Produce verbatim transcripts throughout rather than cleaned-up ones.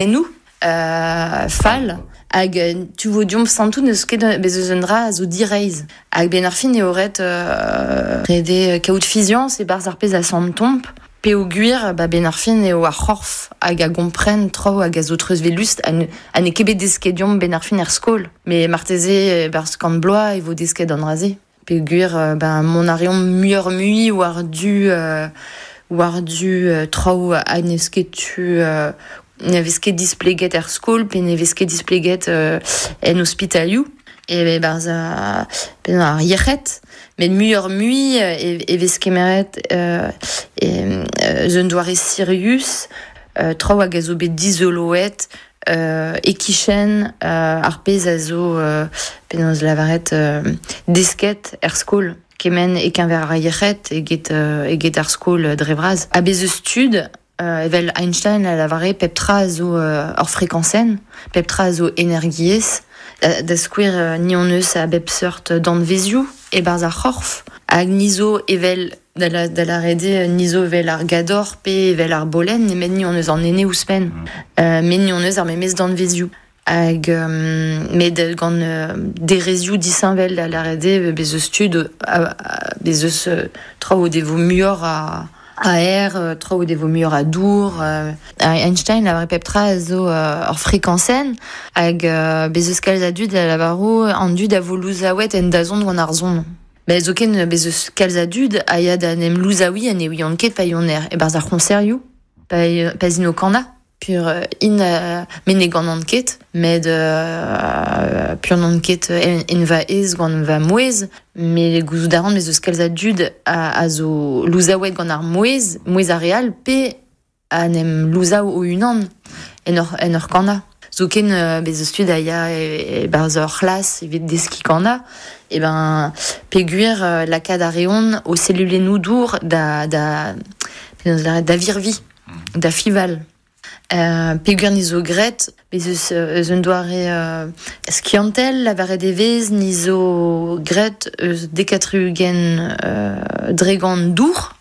Ennou, euh, fall, hag tu vo diomp santout neus ket bez eus un dra a zo direiz. Hag ben ar fin eo ret euh, rede kaout fiziañs e barzh ar pezh a santomp, peogwir ba ben ar fin eo ar c'horf hag a gompren tro hag a zo treuzvelust ha ne, ha ne ket bet desket diomp ben ar fin er skol. Mais marteze barzh kant bloaz e vo desket an dra-se. Peogwir ben mon a reomp muioc'h mui war du euh, war du euh, traoù ha n'eus ket tu euh, ne vez ket displeget er skol pe ne vez ket displeget euh, en ospitalioù. E barzh a, ben ar yec'hed, met muioc'h mui e, e vez kemeret euh, e, euh, un doare sirius, euh, traoù hag a zo bet dizoloet, euh, e-kichen euh, ar pezh a zo euh, penaos lavaret euh, desket er skol. Kement e keñver ar yec'hed eget, euh, eget ar skol dre vras. Ha bez eus tud, euh, evel Einstein a lavare pep tra a zo euh, ur frekañsenn, pep tra a zo energiezh, da, da skouer euh, ni hon eus a bep seurt danvezioù e barzh ar c'horf, hag ni zo evel da la, da la rede ni zo evel ar gador pe evel ar bolen, nemet ni hon eus an ene ouzhpenn. Mm. Euh, met ni hon eus ar memes danvezioù. Hag euh, met gant euh, derezioù disheñvel da la rede bez eus tud, a, a, bez eus euh, traoù o devo muioc'h a a aer, traoù o devo muioc'h a dour. Euh, Einstein a pep tra a zo euh, ur frekañsenn hag euh, bez eus kalz a dud a lavaro an dud a vo louzaouet en dazont gant ar zon. Bez zoken bez eus kalz a dud a ya da nem louzaoui ha ne ouiont ket pa yon er e barzh ar c'honserioù, pa, pa zin o kana. Pur in euh, me ne gant ket, met euh, pur n'on ket en, en va ez gant va mouez, me gouzout a ran mez eus kalz a dud a, a zo louzaouet gant ar mouez, mouez ar real, pe a nem louzaou o unan en ur, en ur kana. Zoken euh, bez eus tud a ya e, e barzh ur c'hlas evit deskiñ kana, e ben peogwir euh, lakaat a reont o selulennoù dour da, da, da, da virvi, da fival. Euh, peogwir ni zo graet, bez eus, eus un doare euh, skiantel, lavaret e vez, ni zo graet eus dekatri-ugent euh, dregant dour,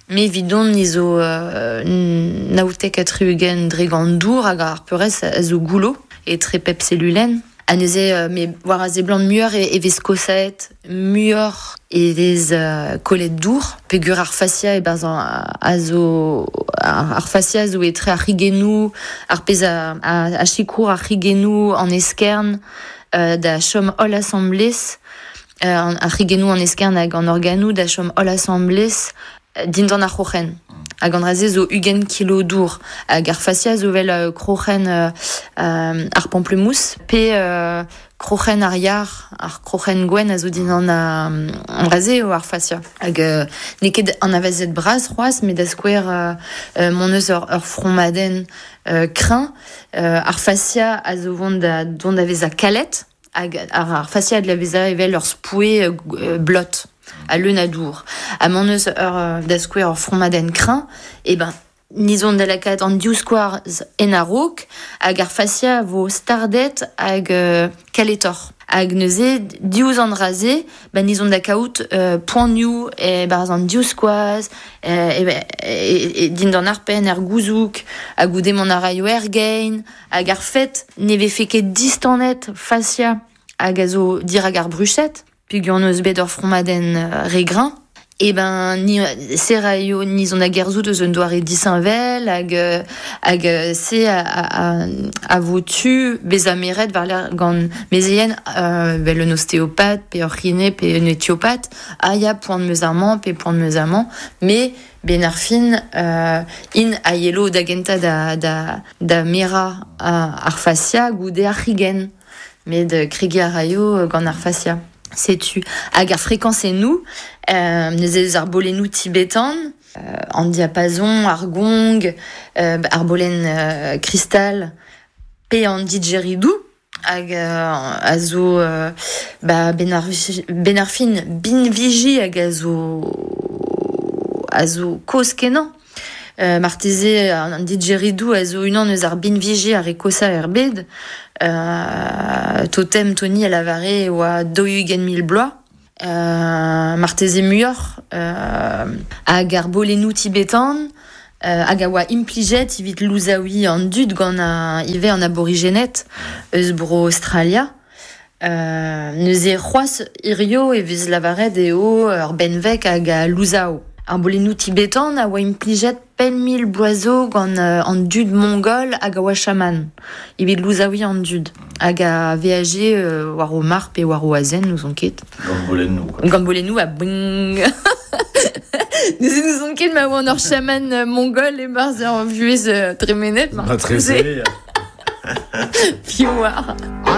me evidon ni zo euh, naoutek ha tri-ugent dregant dour hag ar peurrest a zo goullo etre pep selulenn. Ha neuze, euh, me war a seblant muioc'h e, e vez kosaet, muioc'h e vez euh, kollet dour, peogwir ar fasia e barzh a zo ar, ar fasia a zo etre ar c'higennoù, ar pezh a, a, a sikour ar c'higennoù an eskern euh, da chom holl asambles, euh, ar c'higennoù an eskern hag an organoù da chom holl asambles dindan ar c'hroc'hen. Hag an dra-se zo ugent kilo dour. Hag ar fasia zo vel euh, kroc'hen euh, euh, ar pamplemousse, pe euh, kroc'hen ar yar, ar kroc'hen gwenn a zo dindan an dra-se eo ar fasia. Hag euh, n'eo ket anavezet bras c'hoazh, met da skouer euh, euh, mon eus ur, ur fromadenn euh, kreñv, euh, ar fasia a zo vont da, dont da vezañ kalet, hag ar, ar fasia a dle vezañ evel ur spoue euh, blot, a leun a dour. Ha m'hon eus ur, da skouer ur fromadenn kreñv, e ben, ni zon da lakaat an divskoaz en a-raok, hag ar fasia vo stardet hag euh, kaletoc'h. Hag neuze, diouzh an dra-se, ben, ni zon da kaout euh, poanioù e barzh an divskoaz, e, e, e, e dindan ar penn, er gouzoug, hag goude mont a raio er gein, hag ar fet ne vefe ket distanet fasia hag a zo dirak ar bruched, peogwir hon eus bet ur fromadenn re greñv, e ben ni se raio ni zon a gerzout eus un doare disheñvel hag hag se a, a, a vo tu bezañ meret war lerc'h gant mezeien euh, vel un ostéopathe pe ur c'hine pe un éthiopathe, a ya poan meus amañ pe poan meus amañ, me ben ar fin euh, in a yelo da gentañ da, da, da merañ ar fasia goude ar c'higenn, met kregiñ a raio gant ar fasia. Setu hag ar frekañsennoù, euh, neuze eus ar bolennoù tibetan, euh, an diapason, ar gong, euh, ar bolenn euh, kristal, pe an didgeridoo, hag euh, a zo euh, ba, ben ar, ben ar fin binviji hag a zo, a zo kozh kenañ. Euh, marteze an didgeridoo a zo unan eus ar binviji ar re kosañ er bed. Euh, totem Tony a lavare oa daou-ugent mil bloaz. Euh, marteze muioc'h, euh, hag ar bolennoù tibetan, Euh, hag a oa implijet evit louzaoui an dud gant a, ive an aborigenet eus bro Australia. Euh, neuze c'hoaz hirio e vez lavaret eo ur benveg hag a louzao. Ar bolennoù tibetan a oa implijet pemp mil bloaz zo gant euh, an dud mongol hag a oa chaman. Evit louzaoui an dud. Hag a veaje euh, war o mar pe war o azen, n'ouzon ket. Gant bolennoù, quoi. Gant bolennoù a bing. Neuze n'ouzon ket ma oa an ur chaman euh, mongol e barzh ur vuhez euh, tremenet. Ma treze. Piv war.